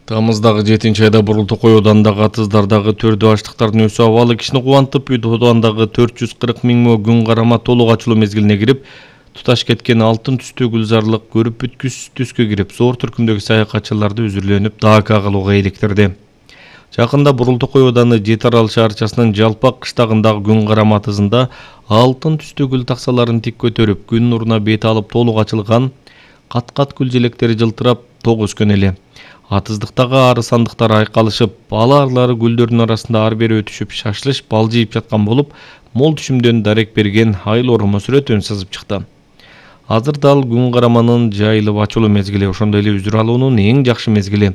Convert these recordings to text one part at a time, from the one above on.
Тамыздагы 7-айда Бурултукой оданындагы атыздардагы төрдү аштыктардын өсүү абалы кишини кубантып, одандагы 440 миң күн карама толук ачылуу мезгилине кирип, туташ кеткен алтын түстүү гүлзарлык көрүп бүткүс түскө кирип, зор түркүмдөгү саякатчыларды үзүрлөнүп, дака кылууга иликтирди. Жакында Бурултукой оданы Жети Арал шаарчасынын Жалпак кыштагындагы күн карама атызында алтын түстүү гүл таксаларын тик көтөрүп, күн нуруна бет алып толук ачылган кат-кат гүл желектери жылтырап ток өскөн эле. Атыздыктагы ары сандыктар айкалышып, ары гүлдөрдүн арасында ар бери өтүшүп, шашлыш бал жыйып жаткан болуп, мол түшүмдөн дарек берген айыл оромо сүрөтүн сызып чыкты. Азыр дал күн караманын жайылып ачылуу мезгили, ошондой эле үзүр алуунун эң жакшы мезгили.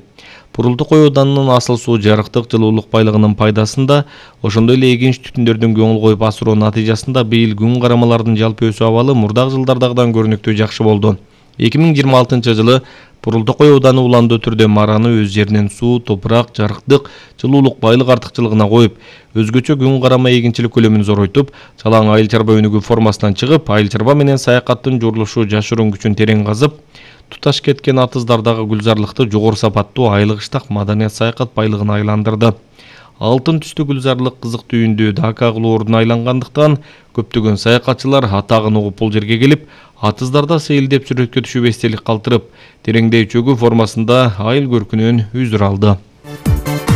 Бурултукой оданынын асыл суу жарыктык жылуулук байлыгынын пайдасында, ошондой эле эгинч түтүндөрдүн көңүл коюп асыруу натыйжасында быйыл күн карамалардын жалпы өсүү абалы мурдагы жылдардагыдан көрүнүктүү жакшы болду. 2026 жылы Бурултукой оданы уландуу түрдө мараны өз жеринен суу, топурак, жарыктык, жылуулук байлык артыкчылыгына коюп, өзгөчө күн карама эгинчилик көлөмүн зоройтуп, жалаң айыл чарба өнүгүү формасынан чыгып, айыл чарба менен саякаттын журулушу жашыруун күчүн терең казып, туташ кеткен атыздардагы гүлзарлыкты жогору сапаттуу айыл кыштак маданият саякат байлыгына айландырды. Алтын түстүү гүлзарлык кызык түйүндүү дака кылуу ордуна айлангандыктан көптөгөн саякатчылар атагын угуп бул жерге келип, атыздарда сейилдеп сүрөткө түшүп эстелик калтырып, тереңдей чөгүү формасында айыл көркүнөн үзүр алды.